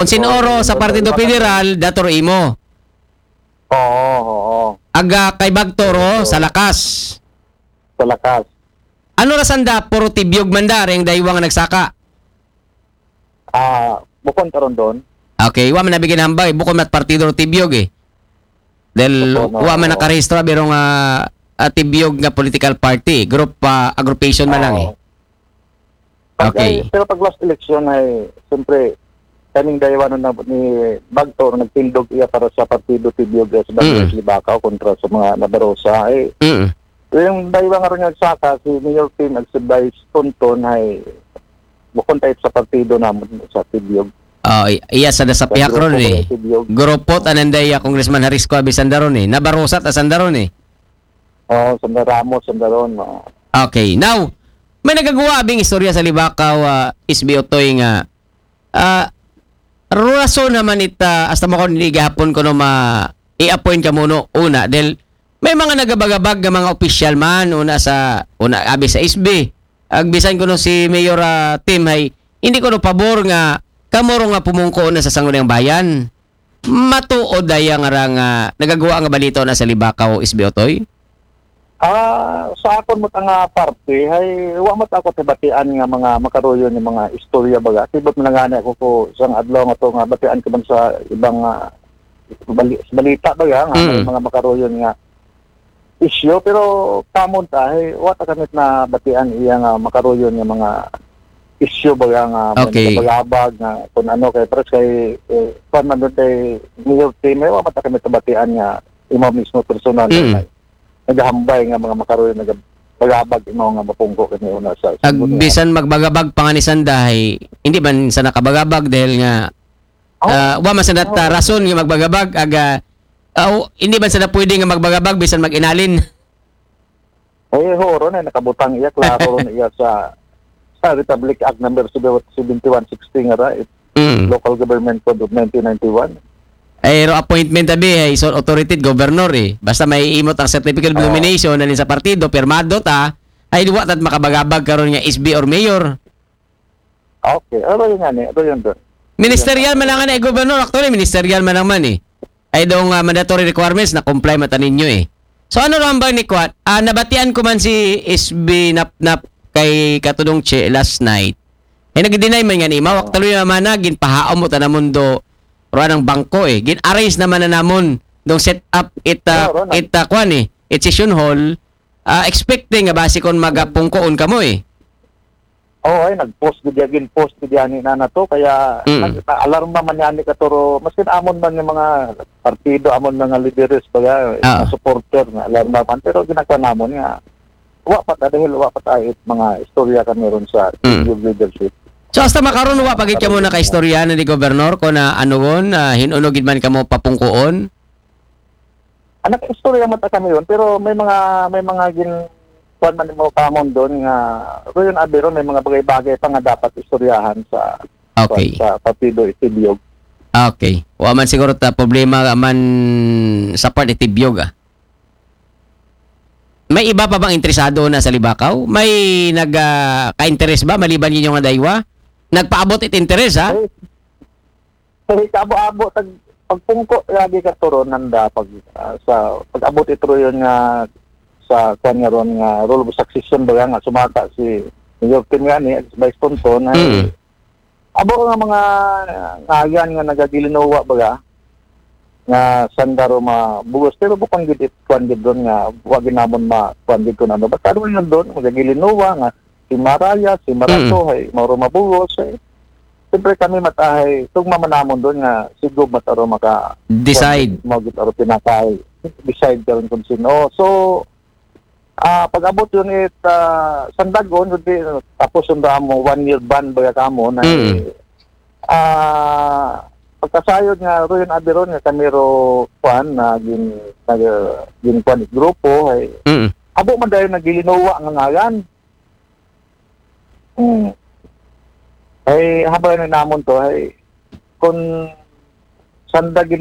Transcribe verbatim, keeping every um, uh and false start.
Kung sin-o ro sa Partido Federal, dator imo. Oo, oo. Aga kay Bagto ro, sa lakas. Sa lakas. Ano ra sanda, puro Tibiog man da, ring daywa nga nagsaka? Ah, bukon karon doon. Okay, wa man nabigyan hambay, bukon mat partido ro Tibiog eh. Dahil wa man nakarehistro, biro nga ah, Tibiog nga political party, group, ah, aggregation man lang eh. Oo. Pag, Okay. ay, pero pag last election ay, siyempre, kaning daywanon na ni Bagto, nagtindog iya para sa partido Tibiog sa Mm. Barangay Libacao kontra sa mga Nabarosa. Eh, Mm. yung daywa nga rin nagsaka, si Mayor Tim at si Vice Tonton ay bukon tayo sa partido naman sa Tibiog. Oh, i- iya sa nasa Sa pihak grupo ron eh. Sa Tibiog. Grupo tanan daya Congressman Haris ko abisan daron eh. Nabarosa ta sandaron eh. Oh, Sanda Ramos, Sanda Ron, oh. Okay. Now, may nagagawa abing istorya sa Libakaw, ah, S B Otoy nga, ah, rason naman ita, hasta mo kung hindi gahapon ko no ma, i-appoint ka muno, una, dahil may mga nagabagabag nga mga opisyal man, una sa, una, abi sa S B, agbisan ko no si Mayor ah, Tim, hay, hindi ko no pabor nga, kamuro nga pumungko na sa Sangguniang Bayan. Matuod daya nga ra nga nagagawa nga balita na sa Libakaw, S B Otoy? Ah, sa akon mo nga parte, hay wa mo ako tibatian nga mga makaruyon nga mga istorya baga. Sibot man nga ako ko sang adlaw nga to nga batian ko man sa ibang ah, bali, sa balita baga nga may Mm. mga makaruyon nga isyu, pero kamon ta, hay wa ta kami na batian iya nga makaruyon nga mga isyu baga nga may Okay. nagabagabag nga kung ano kay pares kay eh, kwan man doon kay Mayor Tim, may wa man ta kami tabatian nga imo mismo personal Mm. nga naghambay nga mga makaruyon nagabagabag imo nga mapungko kani una sa Ag bisan magbagabag pa nga ni Sanday, hindi man sa nakabagabag dahil nga Oh. ah, wa man sa nat- Oo. rason nga magbagabag aga aw, hindi man sa na pwede nga magbagabag bisan mag-inalin. Eh, horo na, nakabutang iya, klaro na iya sa, sa Republic Act number seventy-one sixty nga ra, it, Mm. Local Government Code of nineteen ninety-one. Ay, ro appointment tabi, ay, so authority governor eh. Basta may imot ang certificate of Oo. nomination, nalin sa partido, pirmado ta, ay, duwa tat makabagabag karon nga S B or mayor. Okay, aro yun nga ni, aro yun doon. Ministerial man lang nga na, eh, governor, actually, ministerial man lang man eh. Ay daw nga mandatory requirements na comply mata ninyo eh. So ano lang ba ni Kwat? Ah, nabatian ko man si S B Napnap kay Katudong Che last night. Eh nag-deny man nga ni Mawak talo yung mana ginpahaom mo ta na mundo ro anang bangko eh. Gin-arrange naman na namon dong set up ita Oo, ron. ita kwan eh. It session hall ah, expecting nga basi kon magapungkoon kamo eh. Oo, ay nag-post gid gin post gid ani na nato kaya Mm. nag- alarma man yani katuro maskin amon man yung mga partido amon mga lideres baga Ah. mga supporter nga alarma man pero ginagawa namon nga wa pa ta dahil wa pa ta it mga istorya kami ron sa Mm. Youth leadership. So hasta makaron wa pa gid kamo nakaistorya na ni gobernador ko na anuon ah, hinuno gid man kamo papungkoon? Anak istorya man ta kami yun pero may mga may mga gin kuan man mo kamon doon nga Royon Abiro may mga bagay-bagay pa nga dapat istoryahan sa Okay. sa Partido Itibiyog. Okay. Wa man siguro ta problema man sa part ni Tibyog ah. May iba pa bang interesado na sa Libakaw? May nag ah, ka-interest ba maliban ninyo nga daywa? Nagpaabot it interest ha? Ay, sa abo-abo tag pagpungko lagi ka turon nanda pag ah, sa pag-abot ito yun nga sa kwan nga ron nga rule of succession ba nga sumaka si Mayor Tim nga ni Vice Tonton ay Mm. Abo nga mga ngayan nga nagagilinowa baga nga sandaro mabugos pero bukang gid it kwan gid doon nga wa gid namon ma kwan gid kun ano basta doon yun doon magagilinowa nga si Maraya si Marato Mm. Hay mauro mabugos eh siyempre kami matahay tugma man namon doon nga sigub mataro maka Decide. Kwan gid, mao gid aro pinakay decide karon kung sino so Ah, pag-abot yun it ah, sandagon kundi tapos yung damo one year ban baga kamo na Mm. ah pagkasayod nga ro yun abiron nga kami ro kwan na gin nag gin kwan grupo ay Mm. abo man dahil nagilinowa nga ngalan. Mm. Ay habang na namon to ay kun sanda gin